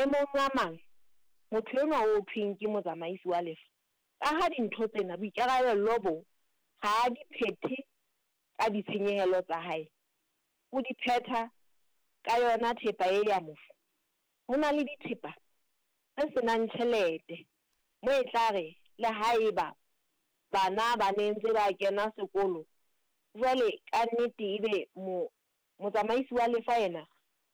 Maemong a mang, motho enwa ho thweng ke motsamaisi wa lefa, ka ha dintho tsena, boikarabello bo, ha a di phethe ka ditshenyehelo tsa hae, o di phetha ka yona thepa e ya mofu. Ho na le dithepa tse se nang tjhelete moo e tla re le haeba bana ba ne ntse ba kena sekolo, jwale ka nnete ebe Motsamaisi wa lefa yena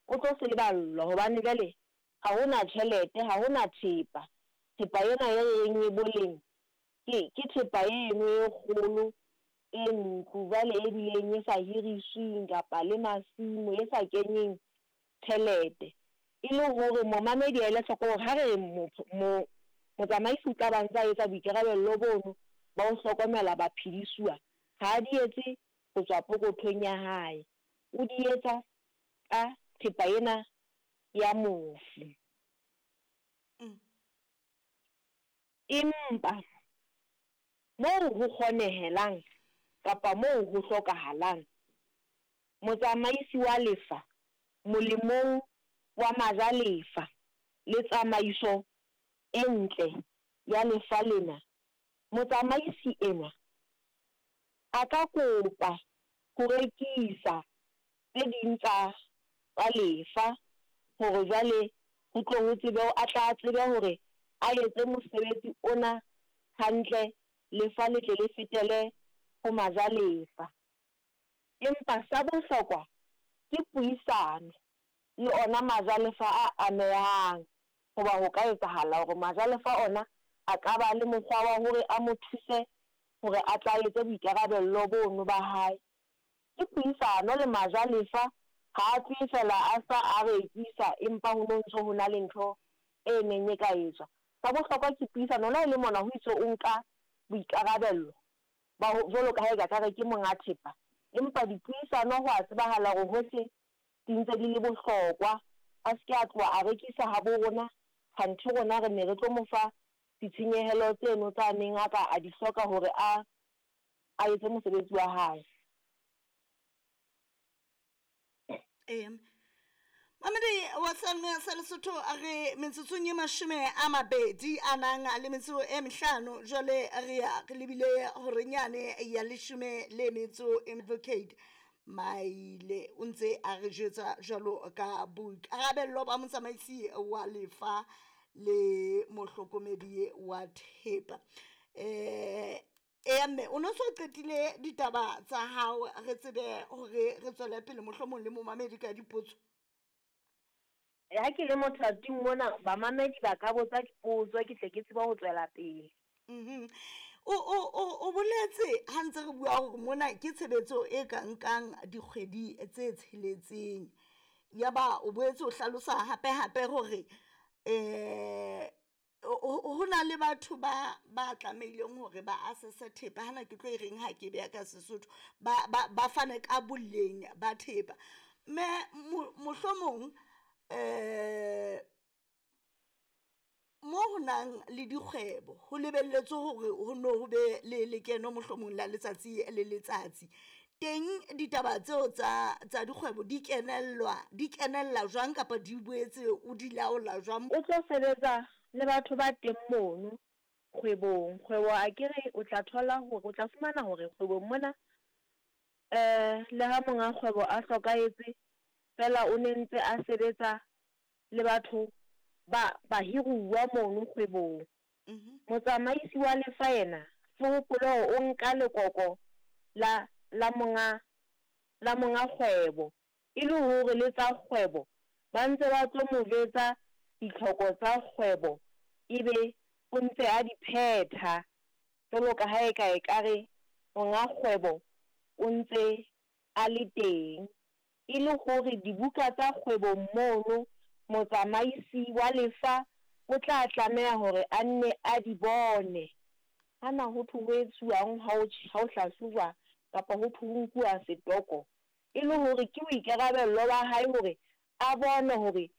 o tlo seleballwa hobane jwale ha ho na tjhelete, ha ho na thepa. Thepa ena e re reng e boleng ke, ke thepa eno e kgolo e ntlo jwale e bileng e sa hirisweng kapa le masimo e sa kenyeng tjhelete. E le hore momamedi a ele hloko hore ha re re mo, mo, motsamaisi o tla ba ntse a etsa boikarabello bono ba ho hlokomela baphedisuwa, ha a di etse ho tswa pokothong ya hae, o di etsa ka thepa ena ya mofu. Empa moo ho kgonehelang kapa moo ho hlokahalang, motsamaisi wa lefa molemong wa majalefa le tsamaiso e ntle ya lefa lena, motsamaisi enwa a ka kopa ho rekisa tse ding tsa tsa lefa hore jwale ho tlo ho tsebe a tla tsebe hore a etse mosebetsi ona hantle lefa le tle le fetele ho majalefa. Empa sa bohlokwa ke puisano le ona majalefa a amehang hoba ho ka etsahala hore majalefa ona a ka ba le mokgwa wa hore a mo thuse hore a tla etse boikarabello bono ba hae. Ke puisano le majalefa, ha a tlohe feela a sa a rekisa empa ho no ntso ho na le ntho e neng e ka etswa. Sa bohlokwa ke puisano le ha e le mona ho itswe o nka boikarabello ba ho jwalo ka ha eka ka re ke monga thepa empa dipuisano ho a tsebahala hore hohle di ntse di le bohlokwa. A se ke a tloha a rekisa habo rona kganthe rona re ne re tlo mo fa ditshenyehelo tseno tsa neng a ka a di hloka hore a a etse mosebetsi wa hae. Ee. Mamedi wa Seyalemoya sa Lesotho a re metsotsong e mashome a mabedi a nang le metso e mehlano jwale re ya re lebile horenyane ya leshome le metso e advocate Maile o ntse a re jwetsa jwalo ka boikarabello ba motsamaisi wa lefa le mohlokomedi wa thepa eh Eya mme o no so qetile ditaba tsa hao re tsebe hore re tswele pele mohlomong le momamedi ka dipotso. Ha ke le mothating mona bamamedi ba ka botsa dipotso ke tle ke tsebe ho tswela pele. Mhm. O o o o boletse ha ntse re bua hore mona ke tshebetso e ka nkang dikgwedi tse tsheletseng. Yaba o boetse o hlalosa hape hape hore eh ho na le batho ba ba tlamehileng hore ba assesse thepa hana ke tlo e reng ha ke beha ka Sesotho ba ba ba fane ka boleng ba thepa mme mohlomong eh mo ho nang le dikgwebo ho lebelletswe hore ho no ho be le lekeno mohlomong la letsatsi le letsatsi teng ditaba tseo tsa tsa dikgwebo di kenellwa di kenella jwang kapa di boetse o di laola jwang? O tlo sebetsa le batho ba teng mono kgwebong. Kgwebo akere o tla thola hore o tla fumana hore kgwebong mona le ha monga kgwebo a hlokahetse fela o ne ntse a sebetsa le batho ba bahiruwa mono kgwebong. Motsamaisi wa lefa yena, se hopole hore o nka lekoko la la monga la monga kgwebo, e le hore le tsa kgwebo ba ntse ba tlo mo jwetsa ditlhoko tsa kgwebo ebe o ntse a di phetha jwalo ka ha eka ekare monga kgwebo o ntse a le teng. E le hore dibuka tsa kgwebong mono motsamaisi wa lefa o tla tlameha hore a nne a di bone. Hana ho thwe ho etsuwang ha ho ha ho hlahlojwa kapa ho thwe ho nkuwa setoko? E le hore ke boikarabello ba hae hore a bone hore.